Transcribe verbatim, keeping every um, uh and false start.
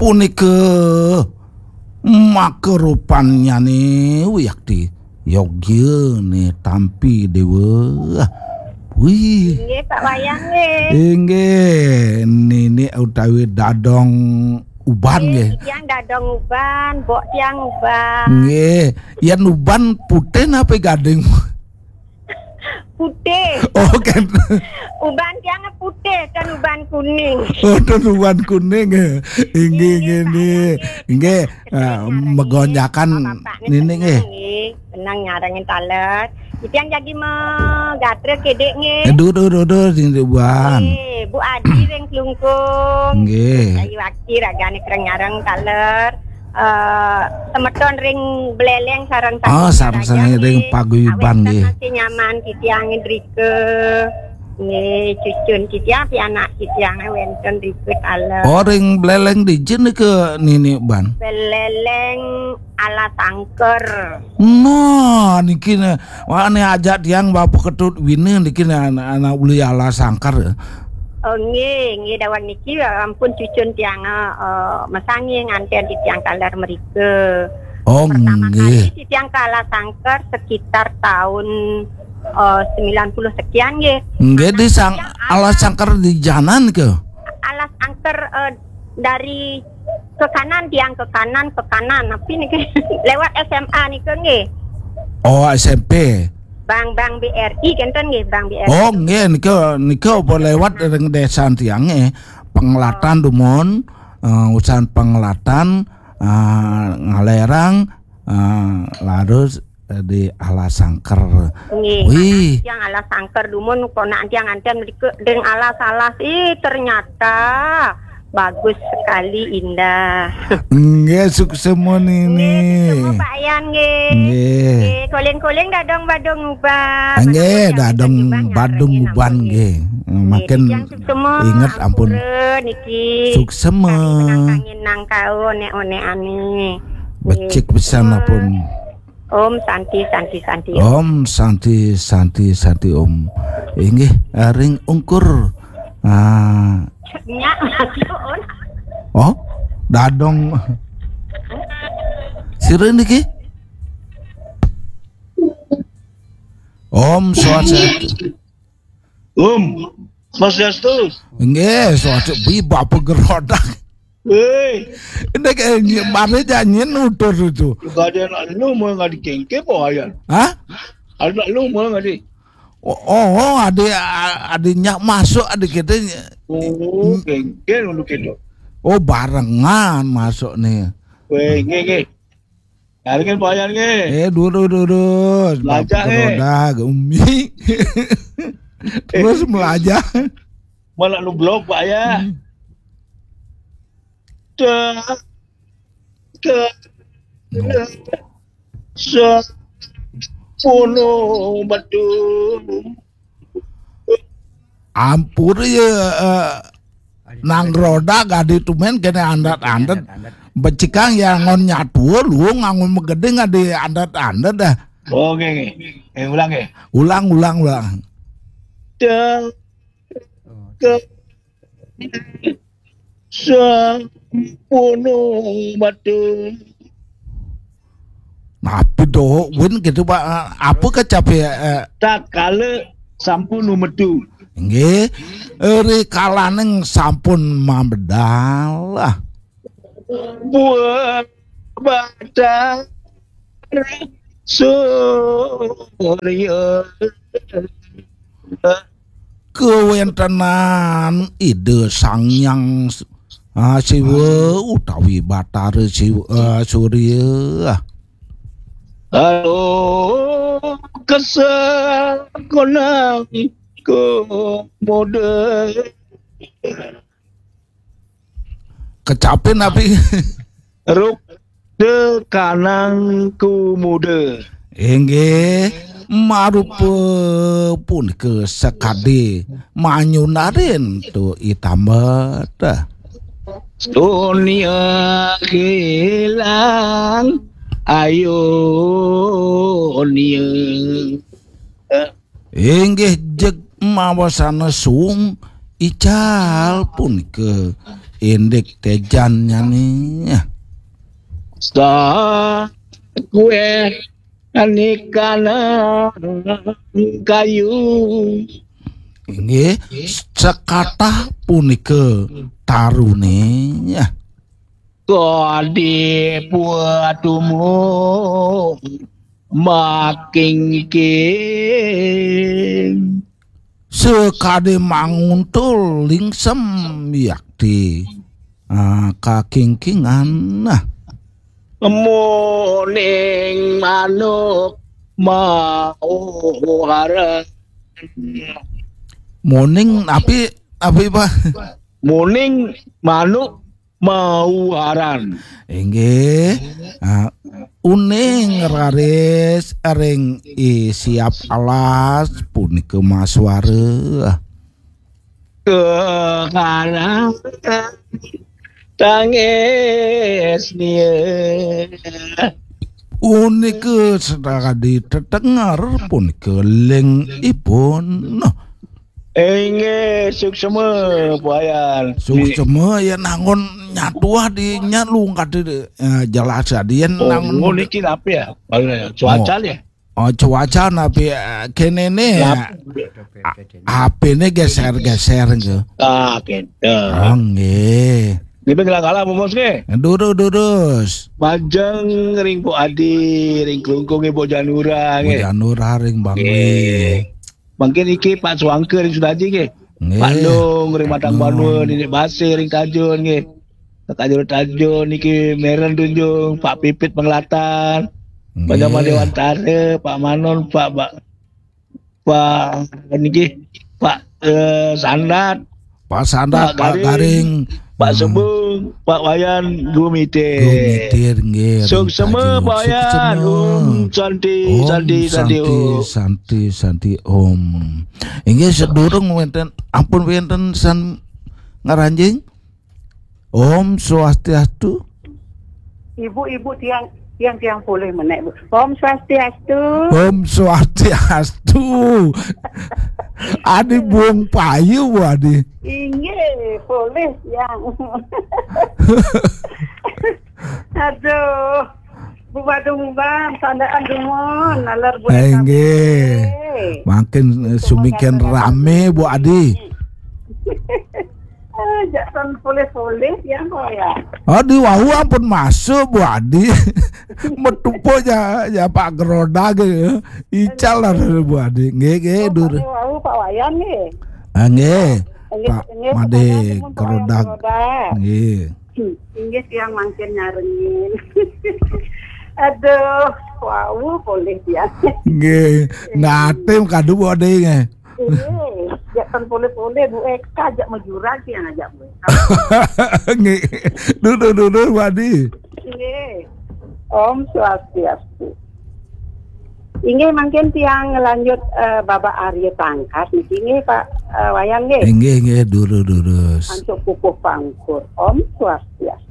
Punika maka rupannyane wiakti yogya ne tampi dewa. Wih. Nggih, Pak Wayang nggih. Inggih, nini utawi dadong uban nggih. Nggih, tiang dadong uban, mbok tiang uban. Nggih, yen uban putih napa gading? Putih. Oh, kan. Uban tiang putih, kan uban kuning. Oh, kan uban kuning. Inggih, inggih, inggih. Inggih, ah, megonjakan nini nggih. Nggih, tenang nyarengin taler. Tiang jagi megatra kedek nggih. Aduh, aduh, aduh, aduh, sini buan. Nggih, Bu Adi ring Klungkung. Nggih. Ayu Aki ragane kereng nyareng taler. Eh, semeton ring Beleleng sareng sami. Oh, sareng sami ring paguyuban nggih. Masih nyaman titiang drika. Nggih, cucun titiang pianak titiang wenten drika taler. Oh, ring Beleleng dija nika nini ban? Beleleng Alas Angker. Nah, niki ne, wah, ne ajak tiang bapa ketut wina niki ne anak, anak uli Alas Angker. Oh, nggih, nggih, daweg niki, eh, ampun cucun tiang, eh, eh, masangi nganten titiang taler mrika. Oh, pertama nggih. Kali titiang ke Alas Angker sekitar tahun, eh, sembilan puluh sekian nggih. Nggih, di sang, Alas Angker di janan ke? Alas Angker, eh, dari ke kanan, tiang ke kanan, ke kanan. Tapi niki lewat S M A nika nggih. Oh, S M P. Bank, Bank B R I kenten nggih, Bank B R I. Oh, nggih, nika, nika apa lewat ring desa tiang nggih. Pengelatan dumun, eh, usan pengelatan, eh, ngalerang, eh, larus, eh, di Alas Angker. Nggih, wih. Tiang Alas Angker dumun, ponakan tiang nganten mrika ring alas-alas. Ih, ternyata bagus sekali, indah. Nggih, suksema nini. Nggih, suksema Pak Yan nggih. Nggih. Nggih, koling-koling dadong badung uban. Nggih, dadong badung uban nggih. Nggih, makin tiang suksema, inget ampun. Ampura niki. Suksema. Kari menang kangin nang kau, onek-onek ane. Becik pisan ampun. Om Santi, Santi, Santi, Om. Om Santi, Santi, Santi, Om. Inggih, ring ungkur. Ah. Nyak, mati, Om. Oh, dadong. Sira niki? Om Swastiastu. Om Swastiastu. Nggih, Swastiastu. Bi bapa gerodak. Hei. Ini kayak nyi-, mana janjian nutur itu. Juga ada anak lu mau nggak dikengke, apa ya? Hah? Anak lu mau nggak di? Oh, oh, oh, ada, a-, ada nyak masuk, ada kita. Oh, kengke dulu kita. Oh, barengan masuk nih. Weh, nggih, nggih. Nyaringin Pak Yan nggih. Eh, dulu, dulu, dulu. Melajah, nggih. Roda, Umi. Terus melajah. Mana lu blok, Pak, ya? Hmm. Dah ke sepuluh betul. Ampun ya, eh, nang roda gadi tumen kene andat-andat. Becikang ya ngon nyatu lu ngangon megede gadi andat-andat dah. Oke, oke. Eh, ulang ya. Ulang, ulang, ulang. Dah ke sampun mati. Napi doh, Win, gitu, Pak? Apa kecapi, eh? Tatkala sampun metu. Nggih, rikalaning sampun mabedal. Buah batang surya. Kawentenan Ida Sang Hyang, ah, Siwa utawi Batara Siwa, ah, Surya. Halo, kesekonang komoda. Kecapin napi? Ruk tekanang kumuda. Inggih, marupa punika sakadi manyunarin tu itambet. Dunia hilang, ayo nia. Inggih jeg mawasana suung ical punika indik téjan nyané. Sa kué nikana kayu. Inggih, sekatah punika taruné. Kadi puatumu makingking. Sekadi manguntul lingsem yakti. Ah, kakingkingan. Nah. Muning manuk mauharan. Muning napi, napi, Pak? Muning manuk mauharan. Inggih. Ah, uning raris ring i siap alas punika masuara. Kekarang tangis nia. Punika sakadi tetenger punika ling ipun. Inggih, suksma, Pak Wayan. Suksma, ya, nangun nyatuh di nya lung kata, eh, jelas tadi, ya, oh, nangun ngono iki napi ya? Cuaca, oh, ya? Oh, cuaca napi, eh, kene ne, nap- A-, H P ne geser-geser ke. Ah, gitu. Oh, nggih. Niki ngelah-ngelah, Bos, nggih. Durus, durus. Majeng ring Bu Adi, ring Klungkung, Bu Janura, Bu nggih. Janura ring Bangli. Nggih. Mangkin iki Pak Suangke ring Sudaji nggih. Nggih. Pak Nung ring Matang Banua, Nini Basir ring Tajun nggih. Tajun-tajun niki Meren Tunjung, Pak Pipit Pengelatan, Pak Jamal Dewantara, Pak Manon, Pak, Pak, Pak niki, Pak, eh, Sandat, Pak Sandat, Pak Garing, Pak Sebung, Pak Wayan Gumitir. Gumitir, nggih. Suksma, Pak Wayan. Suksma. Om Santi, Om Santi, Santi, Santi, Om. Santi, Santi, Om. Inggih, sedurung wénten, ampun wénten san ngaranjing. Om Swastiastu. Ibu-ibu tiang, tiang, tiang polih menék, Bu. Om Swastiastu. Om Swastiastu. Adi buung payu, Bu Adi. Inggih, polih tiang. Aduh. Bu Badung Bang, sandaan dumun, nalar Bu. Eh, inggih. Mangkin, eh, sumikin rame, Bu Adi. Eh, jak tan polih-polih ya, kok ya. Adi wau ampun masuk, Bu Adi. Metu po ya, ya Pak Geroda ge. Ical lah, Bu Adi. Nggih, nggih, oh, dur. Pak wau, Pak Wayan nggih. Ah, nggih. Nggih, Pak nggih, Made Pak Wayan, Pak Wayan Geroda. Geroda. Nggih. Hmm, inggih tiang mangkin nyarengin. Aduh, wau polih tiang. Nggih, ngatim kadu Bu Adi nggih. Nggih, jak tan polih-polih Bu Eka, jak majurag tiang ajak Bu Eka. Nggih. Duduh, duduh, Bu Adi. Nggih. Om Swastiastu. Inggih mangkin tiang lanjut, eh, Bapak Arya Tangkas niki nggih Pak, eh, Wayan nggih. Inggih, inggih, durus, durus. Antuk pupuh pangkur. Om Swastiastu.